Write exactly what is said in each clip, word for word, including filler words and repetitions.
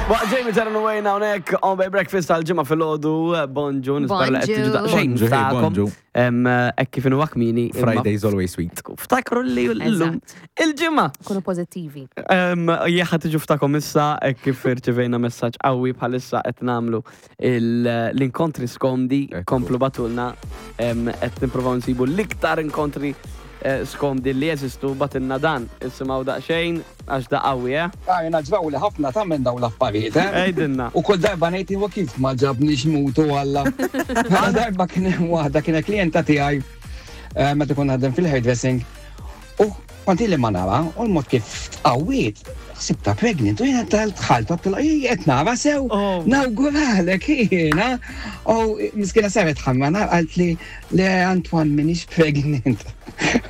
Waqt Jamie Terran Wayne hawnhekk on by breakfast tal-Ġimgħa filgħodu, bonġu, nispera li qed tiġu daqsxejn Bonġu, hey, ftakom. bonġu. Em, Hekk kif inhu kmieni. imma Friday's always sweet. Ftakru li llum il-ġimgħa. Kunu pożittivi. Jekk tiġu ftakom issa, hekk kif irċevejna messaġġ qawwi, bħalissa qed nagħmlu il- l-inkontri skomdi, Ekku. komplu ibagħtulna, em, qed nippruvaw nsibu l-iktar inkontri eh, skomdi li jeżistu. Ibagħtilna dan, isimgħu daqsxejn għax da qawwi, eh? Għajna ġraw li ħafna ta' minn daw l-affarijiet, eh? Għidilna. U kull darba ngħid, huwa kif ma ġabniex mutu Alla. Mela darba kien hemm waħda, kienet klijenta tiegħi eh, meta kont naħdem fil-hairdressing. U kont ili ma nara, u l-mod kif tqawwiet, ħsibta pregnant, u jiena tal-tħalt, għedtilha, qed nara sew, Oh. nawguralek jiena. U miskina saret ħamra, qalt li le, Antoine, m'iniex pregnant.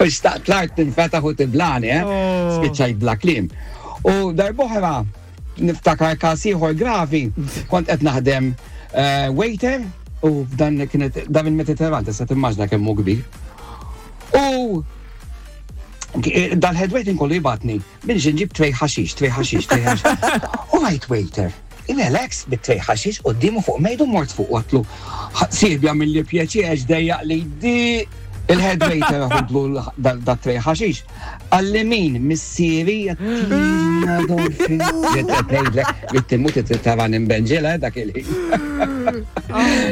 U xtaqt l-art tinfetaħ u tiblagħni, eh? Oh. Spiċċajt bla kliem. U darb'oħra, niftakar każ ieħor gravi, kont qed naħdem eh, waiter u f'dan kienet dan il-Mediterran, tista' timmaġna kemm hu kbir. U dal-head waiter kollu jibgħatni biex nġib tray ħaxix, tray ħaxix, tray ħaxix. U rajt waiter, relax bit-tray ħaxix quddiemu fuq mejdu, mort fuq, għedtlu, sirja mill-li pjaċir għax dejjaq li di il-head waiter ħudlu da tray ħaxix. Qalli, "Min, missieri?" Għattina dolfin. Jittimut it-tavan imbenġela dak il-ħin.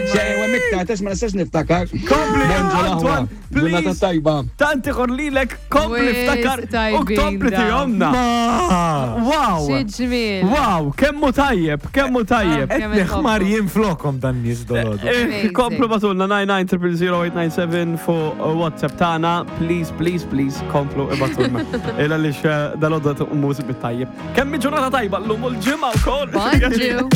Xej, u miktar, tex ma nistax niftakar. Kompli, Bonġu l-aħwa. Antoine, Ġurnata please. tajba. Tanti lilek, kompli Wis ftakar u tajbin kompli dawn. tihomna. Wow! Xi ġmiel. Wow, kemmu tajjeb, kemmu tajjeb. Kemm Qed neħmar inħobbu. jien flokom dan nies dolodu. Eh, Amazing. Komplu ibagħtulna nine nine zero zero zero eight nine seven fuq WhatsApp tagħna. Please, please, please, komplu ibagħtulna. Illa li dalgħodu mużik bit-tajjeb. Kemm ġurnata tajba llum u l-Ġimgħa wkoll. Bonġu.